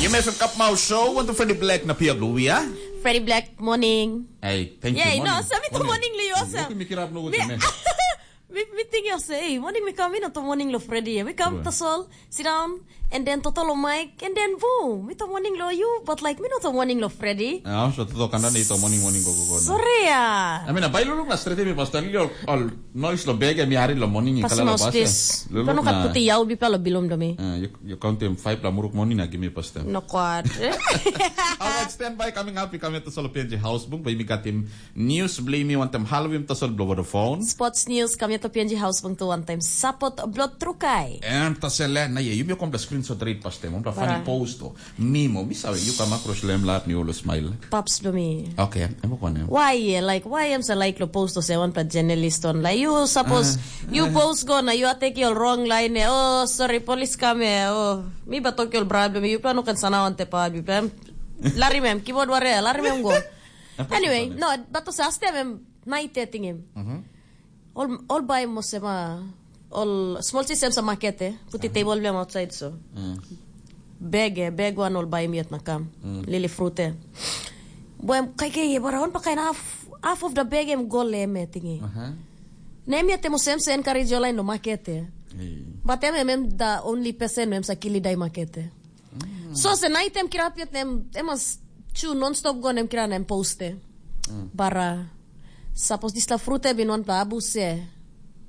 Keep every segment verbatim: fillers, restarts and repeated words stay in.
Im F M Cup Mau Show, want to Freddy Black na Pia Blue, ya? Freddy Black, morning. Hey, thank you, Yay, no, morning. Sa mi to morning, Leo, sa. Yoko mi kirap no Mi, gusto, me. mi, mi think you say, hey, morning mi come, mi no to morning lo Freddy, ya. Mi come Sure. to sol, sit down, and then toto lo Mike, and then boom, mi to morning lo you, but like, mi no to morning lo Freddy. Ah, so toto kanda ni to morning, morning go, go, go, no. Sorry, ya. I mean, a bai luluk na straight mi pastor, yo, all noise lo bag, mi hari lo morning, Pas kala lo maus pas, pis. eh. Luluk Pano kat na puti yau bi palo bilum domi. Ah, you, you count them five la muruk morning na give me pastor. No kwad. Alright, stand by, coming up, we come here to Solo P N G House Bung, but we got him news, blame me, want them halvim to Solo blow the phone. Sports news, kami to P N G House Bung to one time. Support blood trukai. And to sell na ye, you may come the screenshot read pastor, want to funny Para. post to. Mimo, mi sabe, you come across lem lap, ni always smile. Paps do me. Okay, I'm going to. Why, yeah, like, why am sa like lo post to say one pa journalist on? Like, you suppose, Ah, you ah. post go na, you are taking your wrong line, eh? Oh, sorry, police come here. Oh, mi ba talk your problem. You plan no kan sana on te pa, you plan. Lari mem, keyboard ware, lari mem go. Apa Anyway, sebenarnya? no, but to say, aste mem, night dating him. Mhm. Ol, ol bai mo sema, ol small chi sem sa market, eh? Puti Aha. table biam outside so. Mm. Bag, eh? Bag wan ol bai miot na kam. Mm. Lili fruit, eh? Boem, kai kai, eh, bara on pa kain half, half of the bag em go lem, eh, tingi. Aha. Na em yet em sem sa encourage ol lain lo market, eh? Hey. But em, em, em the only person em sa kili dai market, eh? Mm. So se nait em kirap yet nem, em mas chu non-stop go nem kira nem poste. Mm. Bara, sapos dispela frut e bin wanpela abuse,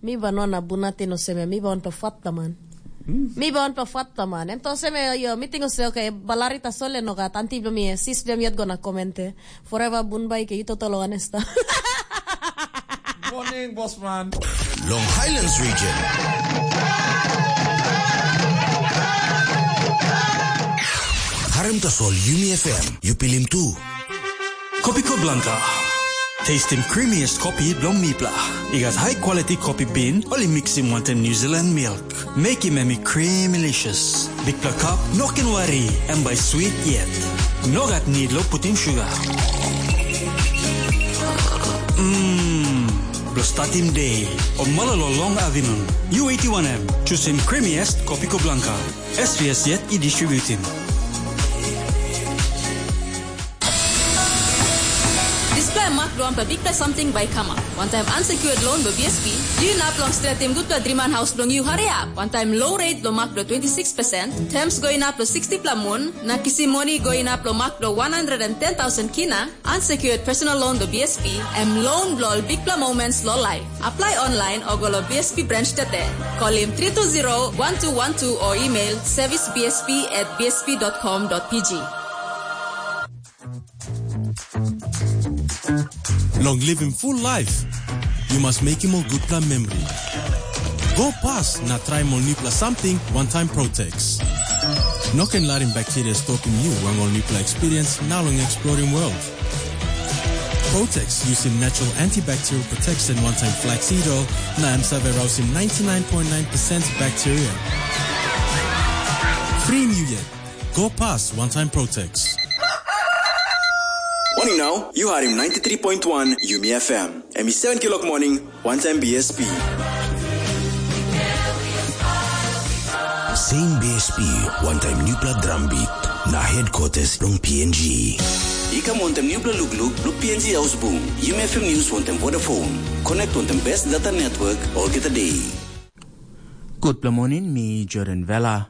mi ba no na bunati no seme, mi ba wanpela fatla man. Mm. Mi ba wanpela fatla man. Em to seme, yo, mi tingo se, okay, balari ta sole no gat, anti blo mi, sis blo mi yet go na komente. Forever bun bai ke yu toto lo anesta. Morning, boss man. Long Highlands region. Harem tasol Yumi F M, yu pilim tu. Kopiko Blanca. Tastim creamiest kopi bilong mipla. I gat high quality kopi bean, oli mixim wantaim New Zealand milk. Mekim em i creamylicious. Bikpela kap, no ken wari, em bai sweet yet. No gat need lo putim sugar. Mmm, blo statim day, o malolo long afternoon. U eighty-one M, chusim creamiest Kopiko Blanca. S V S yet i distributim. Dispela mak bilong wanpela bikpela samting bai i kamap. Wantaim unsecured loan bilong B S P, yu inap long stretim gutpela driman haus bilong yu hariap. Wantaim low rate bilong mak bilong twenty six percent, terms go inap long sixty pela mun, na kisim moni go inap long mak bilong one hundred and ten thousand kina, unsecured personal loan bilong B S P, em loan bilong ol bikpela moments long life. Apply online o go long B S P branch tete. Kolim three two zero one two one two o email service B S P at B S P dot com dot P G. Long living full life, you must make him a good plan memory. Go past na try mo nipla something one time Protex. No can let him bacteria stopping you when all nipla experience now long exploring world. Protex using natural antibacterial protection one time flaxseed oil na em save rausim ninety-nine point nine percent bacteria. Free you yet. Go past one time Protex. Morning now, you are in ninety-three point one Yumi F M. Em i seven kilok morning, one time B S P. Same B S P, one time newpela drum beat, na headquarters long P N G. I kam wantaim newpela lukluk long P N G Haus Bung, Yumi F M News wantaim Vodafone. Connect wantaim best data network olgeta day. Gutpela morning, mi Jordan Vela.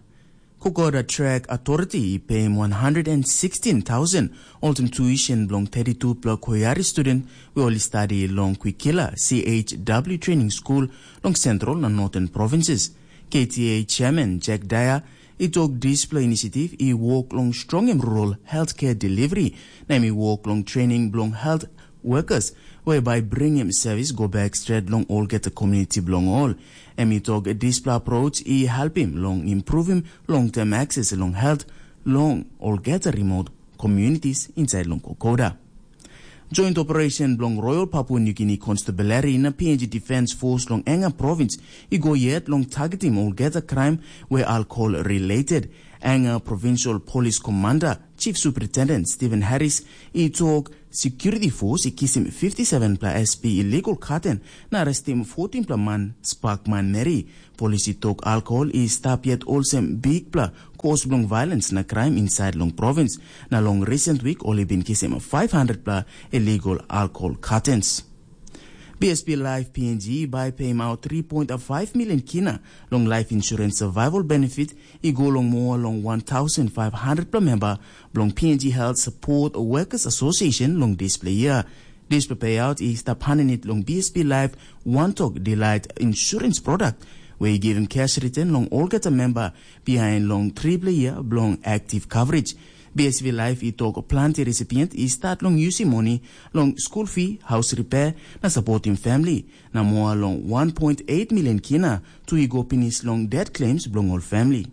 Kokoda Track Authority i peim one hundred and sixteen thousand olsem tuition bilong thirty-two pela koyari student we ol i stadi long Kwikila C H W Training School long Central na Northern Provinces. K T A Chairman Jack Dyer i tok dispela inisiativ i wok long strongim rural healthcare delivery, na em i wok long training bilong health workers we bai bringim service go back stret long olgeta community bilong ol. Em i tok dispela approach i helpim long improvim long-term access long health long olgeta remote communities inside long Kokoda. Joint operation bilong Royal Papua New Guinea Constabulary na P N G Defence Force long Enga Province i go yet long targetim olgeta crime we alcohol related. Enga Provincial Police Commander Chief Superintendent Stephen Harris i tok security force i kisim fifty seven pela S P illegal katen na arrestim fourteen pela man spak manmeri. Polis i tok alkohol i stap yet olsem bikpela kos bilong violens na kraim insait long provins, na long recent week ol i bin kisim five hundred pela illegal alkohol katens. B S P Life P N G bai peim out three point five million kina long life insurance survival benefit i go long moa long one thousand five hundred pela memba bilong P N G Health Support Workers Association long dispela year. Dispela payout i stap hanenit long B S P Life One Tok Delight Insurance Product, where i givim cash return long olgeta memba behind long tripela year bilong active coverage. B S V Life i tok planti recipient i start long yusim moni long school fee, house repair, na supporting family, na moa long one point eight million kina tu i go pinis long debt claims bilong ol family.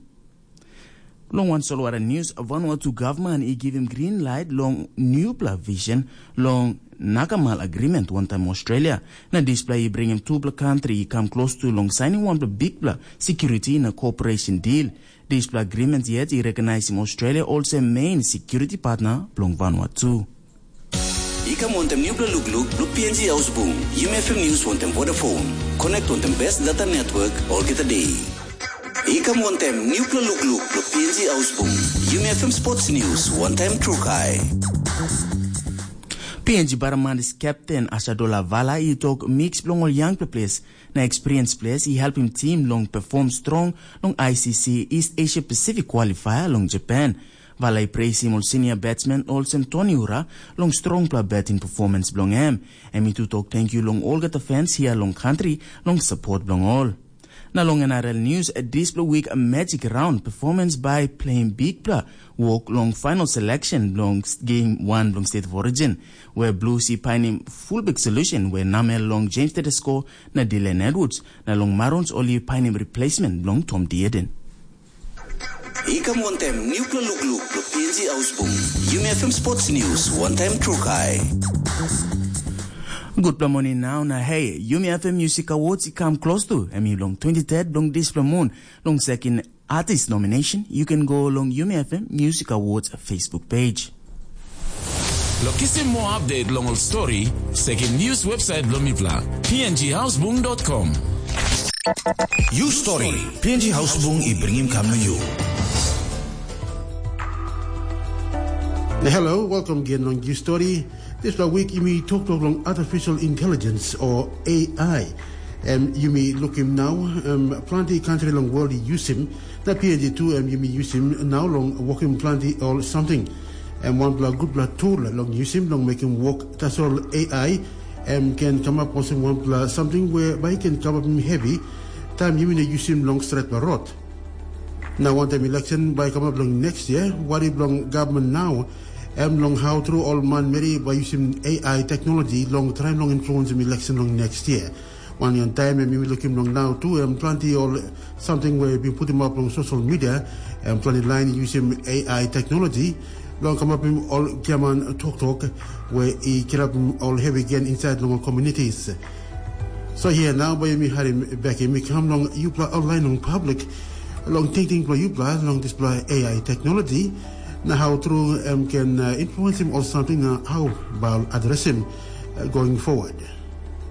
Long wan solwara news, Vanuatu gavman i givim green light long newpela vision long Nakamal Agreement wantaim Australia, na dispela i bringim tupela kantri i kam klostu long sainim wanpela bikpela security na cooperation deal. Dispela agreement yet i rekonaisim Australia olsem main security partner bilong Vanuatu. I kam wantem nupela lukluk blo P N G Ausbung, Yumi F M News wantem Vodafone. Connect wantem best data network olgeta day. I kam wantem nupela lukluk blo P N G Ausbung, Yumi F M Sports News wantem Trukai. P N G Baramanis captain Asadola Vala i tok mix bilong ol young players na experience players i helpim tim long perform strong long I C C East Asia Pacific qualifier long Japan. Vala i preisim ol senior batsman olsem Tony Ura long strongpela batting performance bilong em. Em i tu tok tenkyu long olgeta fans hia long kantri long support bilong ol. Na long N R L news, dispela week magic round performance by playing bikpela wok long final selection bilong game one bilong State of Origin, where Blues i painim fullback solution where namel long James Tedesco na Dylan Edwards, na long Marons ol i painim replacement bilong Tom Dieden. I kam wantem nupela lukluk blo P N G Ausbung, Yumi F M Sports News wantem Trukai. Gutpela moning nau na hei, Yumi F M Music Awards i kam klostu, em i long twenty-third bilong dispela mun, long second artist nomination, you can go long Yumi F M Music Awards Facebook page. Lo kisim moa update long ol story, sekim news website bilong mipela, P N G Ausbung dot com. You story, P N G Ausbung i bringim kam na you. Na hello, welcome again long You Story. Dispela wik yumi toktok long artificial intelligence o A I. Em yumi lukim nau, em planti kantri long world i yusim, na P N G tu em yumi yusim nau long wokim planti ol samting. Em wanpela gutpela tul long yusim long mekim wok tasol A I, em ken kamap olsem wanpela samting we bai ken kamapim hevi, taim yumi no yusim long stretpela rot. Na wantaim election bai kamap long next year, wari bilong gavman nau, em long hau tru ol manmeri bai yusim A I teknologi long traim long influensim election long next year. Wanwan taim em yumi lukim long nau tu, em planti ol samting we bin putim up long social media, em planti lain yusim A I teknologi, long kamapim ol giaman toktok we i kirapim ol hevi gen insait long ol communities. So hia nau bai yumi harim bek yumi kam long yupela online long public, long tingting bilong yupela long dispela A I teknologi, na hau tru em ken uh, influensim ol samting na hau bai adresim uh, going forward.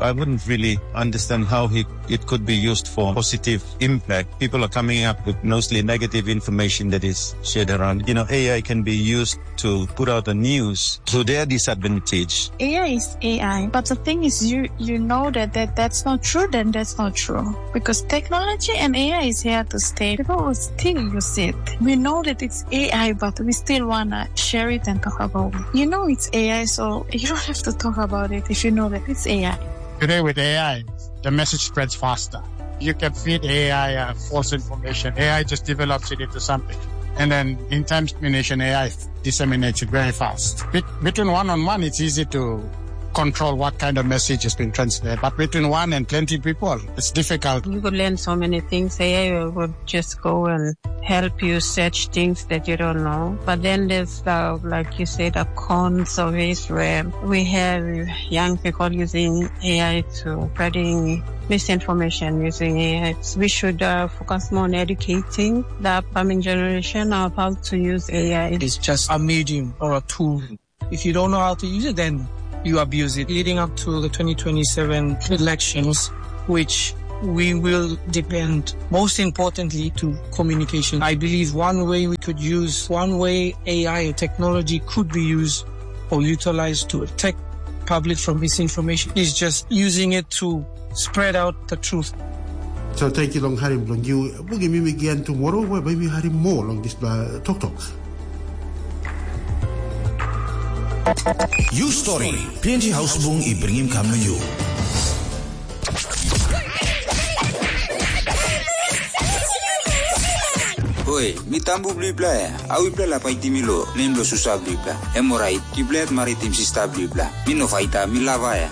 I wouldn't really understand how he, it could be used for positive impact. People are coming up with mostly negative information that is shared around. You know, A I can be used to put out the news to their disadvantage. A I is A I, but the thing is, you you know that, that that's not true, then that's not true. Because technology and A I is here to stay. People will still use it. We know that it's A I, but we still wanna share it and talk about it. You know it's A I, so you don't have to talk about it if you know that it's A I. Today with A I, the message spreads faster. You can feed A I uh, false information. A I just develops it into something. And then in time's diminution, A I disseminates it very fast. Between one on one, it's easy to control what kind of message is being transferred. But between one and twenty people, it's difficult. You could learn so many things. A I would just go and help you search things that you don't know. But then there's the, like you said, the cons of it, where we have young people using A I to spreading misinformation using A I. We should uh, focus more on educating the upcoming generation of how to use A I. It's just a medium or a tool. If you don't know how to use it, then you abuse it. Leading up to the twenty twenty-seven elections, which we will depend most importantly to communication. I believe one way we could use, one way A I technology could be used or utilized to attack public from misinformation is just using it to spread out the truth. So thank you long harim bilong you. Bugim mimi again tomorrow, where maybe harim more long this uh, talk talk. You story, P N G Hausbung i bringim kam na you. Hoi, mi tambu bilipela ya. Au ipela la paitim mi lo, nem lo susa bilipela. Em orait, ipela yet maritim sista bilipela. Mi no faita, mi lava ya.